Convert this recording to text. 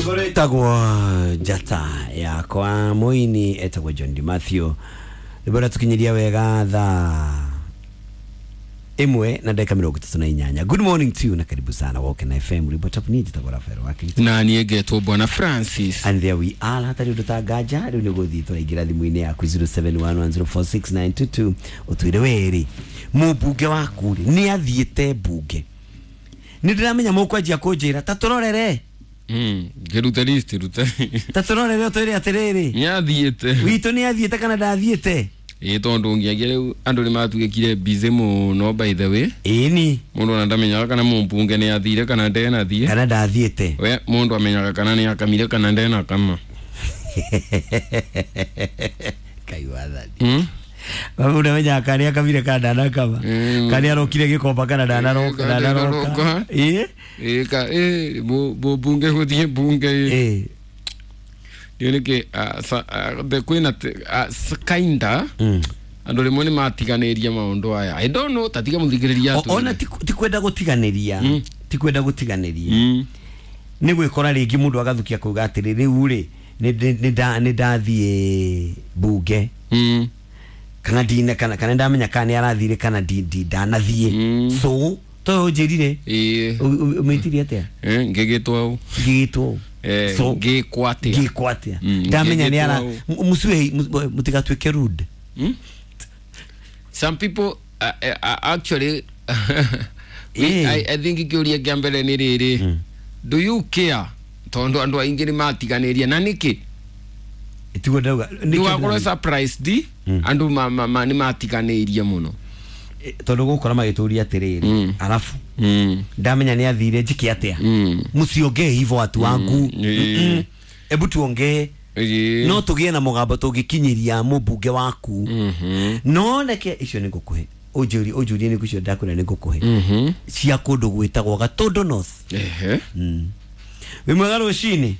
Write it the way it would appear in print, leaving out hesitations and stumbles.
Rwĩtagwo njata yakwa mũini etagwo John Di Mathew. Rwĩmbo rwatukinyiria wega thaa 1 na dakika 38. Good morning to you na karibu sana Woke na FM. Rwĩmbo tapu niĩ njĩtagwo Rafael Wakiri. Na niĩ ngetwo Bwana Francis. And there we are, hatarĩ ũndũ ta nganja. Rĩu nĩ gũthiĩ tũraingĩra thimũ-inĩ yaku 0711046922 ũtwĩre werĩ mũmbunge waku rĩ nĩ athiĩte mbunge. Nĩ ndĩramenya mũkwanjia kũnjĩra ta tũrorere. Ngĩruta list ruta. Ta tũrorere ũtwĩre atĩrĩrĩ, nĩ athiĩte witũ nĩ athiĩte kana ndathiĩte? Ĩ tondũ ngĩagia rĩu andũ nĩ matuĩkire busy mũno, by the way. Ĩni. Mũndũ ona ndamenyaga kana mũmbunge nĩ athire kana ndenathiĩ. Kana ndathiĩte. We mũndũ amenyaga kana nĩ akamire kana ndenakama. Kai wathani. Mũndũ amenyaga kana nĩ akamire kana ndanakama. Kana nĩ arokire gĩkomba kana ndanaroka. Kana ndanaroka. Ĩ. Ĩ ka ĩ bunge gũthiĩ bunge. Ĩ. Nĩ nĩkĩ kwĩna kinda andũ rĩmwe nĩ matiganĩria maũndũ aya. I don't know, tatiga mũthikĩrĩria atwĩre. Ona ti kwenda gũtiganĩria, ti kwenda gũtiganĩria, nĩ gwĩkora rĩngĩ mũndũ agathukia kuga atĩrĩ, rĩu rĩ nĩ ndathiĩ bunge kana ndine kana ndamenya kana nĩ arathire kana ndanathiĩ. So to ũnjĩrire ũmĩtirie atĩa? Ngĩgĩtwo. Ngĩgĩtwo. So ngĩkwo atĩa? Ngĩkwo atĩa? Ndamenya nĩ ara mũciĩ mũtigatuĩke rude. Some people actually I think kĩũria kĩa mbere nĩ rĩrĩ, do you care? Tondũ andũ aingĩ nĩ matiganĩria na nĩkĩ? Tiguo ndauga. Nĩ wakorwo surprised andũ nĩ matiganĩirie mũno. Tondũ gũkora magĩtũria atĩrĩrĩ, arabu ndamenya nĩ athire njĩke atĩa? Mũciongee hivyo watu wangu. Ebu tuongee. No tũgĩe na mũgambo tũngĩkinyĩria mũmbunge waku. No reke icio nĩ ngũkũhe. Ũnjũrie nĩ icio ndakwĩra nĩ ngũkũhe. Cia kũndũ gwĩtagwo Gatũndũ North. Wĩ mwega rũcinĩ?